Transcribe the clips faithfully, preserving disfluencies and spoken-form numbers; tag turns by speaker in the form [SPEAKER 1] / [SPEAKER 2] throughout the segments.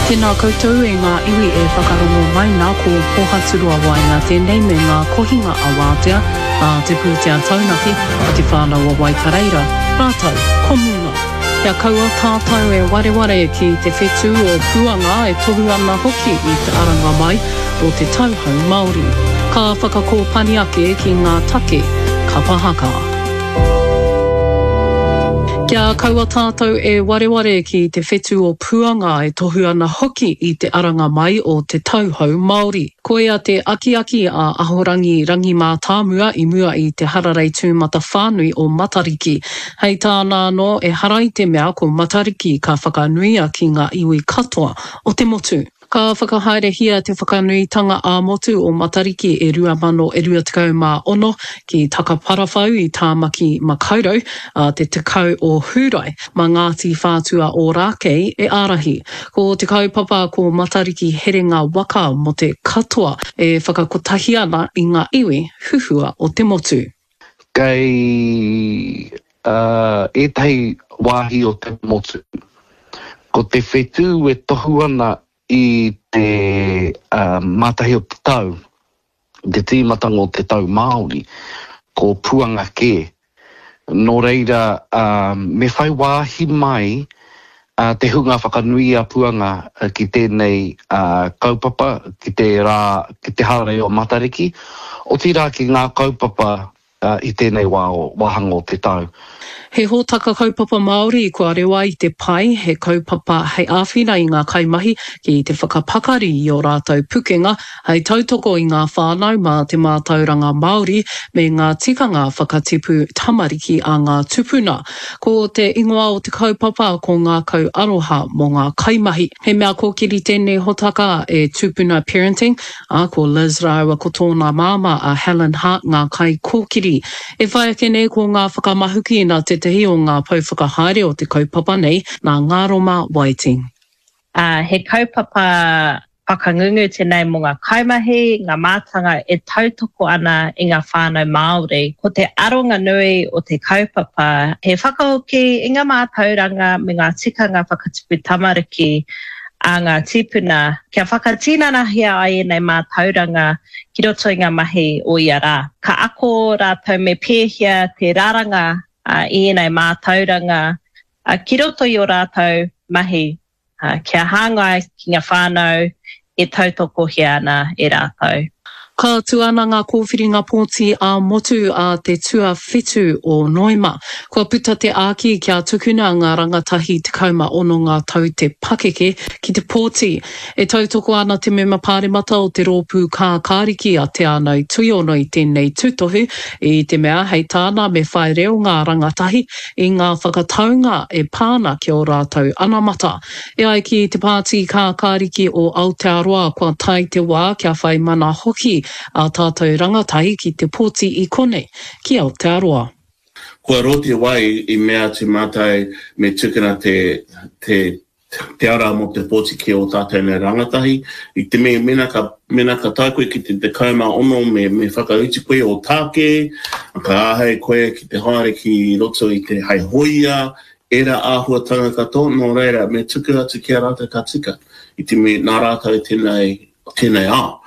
[SPEAKER 1] Tēnā koutou e ngā iwi e whakarongo mai nā ko Pōhaturoa Waenga tēnei me ngā kohinga a Wātea, a Te Pūtea Taunaki, a Te Whānau o Waikareira, rātou ko Munga. Kia kaua tātou e wareware ki te whetū o Puanga e tohu ana hoki i te aranga mai o te tauhou Māori. Ka whakakōpani ake ki ngā take kapa haka. Kia kaua tātou e wareware ki te whetū o Puanga e tohu ana hoki i te aranga mai o te tauhou Māori. Koia te akiaki a Ahorangi Rangi Mātāmua i mua i te hararei tūmatawhānui o Matariki. Hei tāna anō ehara i te mea ko Matariki ka whakanuia ki ngā iwi katoa o te motu. Ka whakahaerehia te whakanuitanga ā-motu o Matariki e rua mano e rua tekau mā ono ki Takaparawhau i Tāmaki Makaurau a te tekau o Hūrae mā Ngāti Whātua Ōrākei e ārahi. Ko te kaupapa ko Matariki herenga waka mō te katoa e whakakotahi ana i ngā iwi huhua o te motu.
[SPEAKER 2] Kei uh, ētahi wāhi o te motu. Ko te whetū e tohu ana i te uh, mātahi o te tau, te tīmatanga o te tau Māori, ko Puanga kē. Nō reira, uh, me whai wāhi mai uh, te hunga whakanui a Puanga uh, ki tēnei uh, kaupapa, ki te rā, ki te hararei o Matariki, otirā ki ngā kaupapa uh, i tēnei wā o, wāhanga o te tau.
[SPEAKER 1] He hōtaka kaupapa Māori kua rewa i te pai, he kaupapa hei āwhina i ngā kaimahi ki te whakapakari i ō rātou pukenga, hei tautoko i ngā whānau mā te mātauranga Māori me ngā tikanga whakatipu tamariki a ngā tupuna. Ko te ingoa o te kaupapa ko Ngākau Aroha mō ngā kaimahi. He mea kōkiri tēnei hōtaka e Tupuna Parenting, ā, ko Liz rāua ko tōna māmā a Helen Hart ngā kaikōkiri. E whai ake nei ko ngā whakamahuki nā tētahi o ngā pou whakahaere o te kaupapa nei, nā Ngaroma Whiting.
[SPEAKER 3] Uh, he kaupapa whakangungu tēnei mō ngā kaimahi, ngā mātanga e tautoko ana i ngā whānau Māori. Ko te aronga nui o te kaupapa, he whakahoki i ngā mātauranga me ngā tikanga whakatipu tamariki a ngā tīpuna, kia whakatinanahia ai ēnei mātauranga ki roto i ngā mahi o ia rā. Ka ako rātou me pēhea te raranga uh, i ēnei mātauranga uh, ki roto i o rātou mahi, uh, kia hāngai ki ngā whānau e tautokohia ana e rātou.
[SPEAKER 1] Ka tū ana ngā kōwhiringa pōti ā-motu a te tuawhitu o Noema. Kua puta te āki kia tukuna ngā rangatahi tekau mā ono ngā tau te pakeke ki te pōti. E tautoko ana te mema pāremata o te rōpū kākāriki a Te Ānau Tuiono i tēnei tūtohu, i te mea hei tāna me whai reo ngā rangatahi i ngā whakataunga e pā ana ki ō rātou anamata. E ai ki te Pāti Kākāriki o Aotearoa kua tae te wā kia whai mana hoki a tātou rangatahi ki te pōti i konei, ki Aotearoa.
[SPEAKER 4] Kua roa te wā i mea atu mātou me tukuna te, te, te ara mō te pōti ki ō tātou nei rangatahi. I te mea, mena ka, mena ka tae koe ki te tekau mā ono me, me whakautu koe o tāke, ka āhei koe ki te haere ki roto i te hei hōia, ērā āhuatanga katoa, nō reira, me tuku atu ki a rātou ka tika. I te mea, nā rātou tēnei, tēnei ao.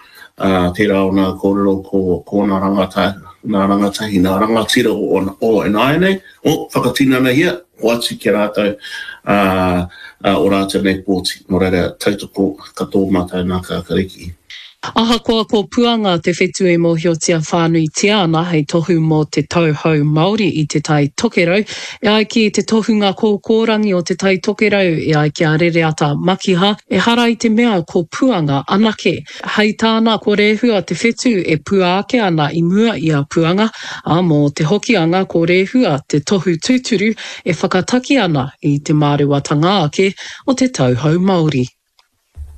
[SPEAKER 4] Uh, tērā o ngā kōrero ko, ko nā rangatahi, nā rangatahi, nā rangatira o, o ināianei, o whakatinanahia, hoatu ki a rātou uh, uh, o rātou nei pōti. Nō reira, tautoko katoa mātou nā Kākāriki.
[SPEAKER 1] Ahakoa ko Puanga te whetū e mōhiotia whānuitia ana hei tohu mō te tauhou Māori i Te Tai Tokerau, e ai ki te tohunga kōkōrangi o Te Tai Tokerau, e ai ki a Rereata Makiha, ehara i te mea ko Puanga anake. Hei tāna ko Rehua te whetū e pua ake ana i mua i a Puanga, ā, mō te Hokianga ko Rehua te tohu tūturu e whakataki ana i te mārewatanga ake o te tauhou Māori.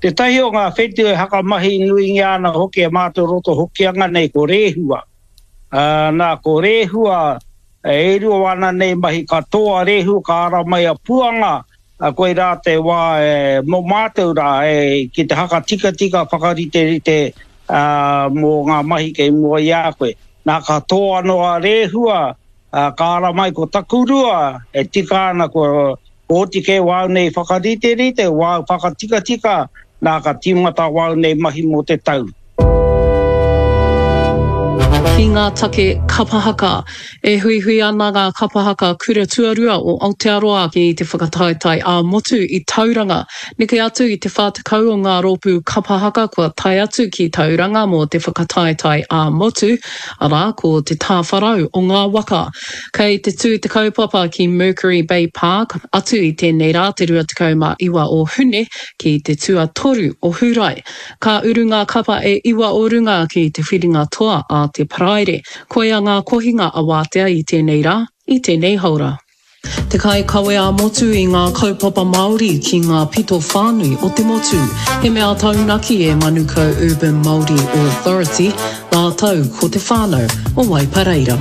[SPEAKER 5] Tētahi o ngā whetū e hakamahi nuingia ana hoki e mātou roto Hokianga nei ko Rehua. Uh, nā, ko Rehua, e rua ana nei mahi katoa Rehua ka ara mai a Puanga, a koe rā te wā e, mō mātou rā e, ki te hakatikatika whakariterite uh, mō ngā mahi kei mua i a koe. Nā, ka tō anō a Rehua, uh, ka ara mai ko Takurua, e tika ana ko, Oti kē wāu nei whakariterite, wāu whakatikatika, nā ka tīmata wāu nei mahi mō te tau.
[SPEAKER 1] Ki ngā take kapa haka. E huihui ana ngā kapa haka kura tuarua o Aotearoa ki te whakataetae ā-motu i Tauranga. Neke atu i te whā tekau o ngā rōpū kapa haka kua tae atu ki Tauranga mō te whakataetae ā-motu, arā, ko te tāwharau o ngā waka. Kei te tū te kaupapa ki Mercury Bay Park atu i tēnei rā te rua tekau mā iwa o Hune ki te tuatoru o Hūrae. Ka uru ngā kapa e iwa o runga ki te whiringa toa a te Paraire. Koia ngā kohinga awātea i tēnei rā, i tēnei haora. Te kaikawe ā-motu i ngā kaupapa Māori ki ngā pito whānui o te motu. He mea taunaki e Manukau Urban Māori Authority rātou ko te whānau o Waipareira.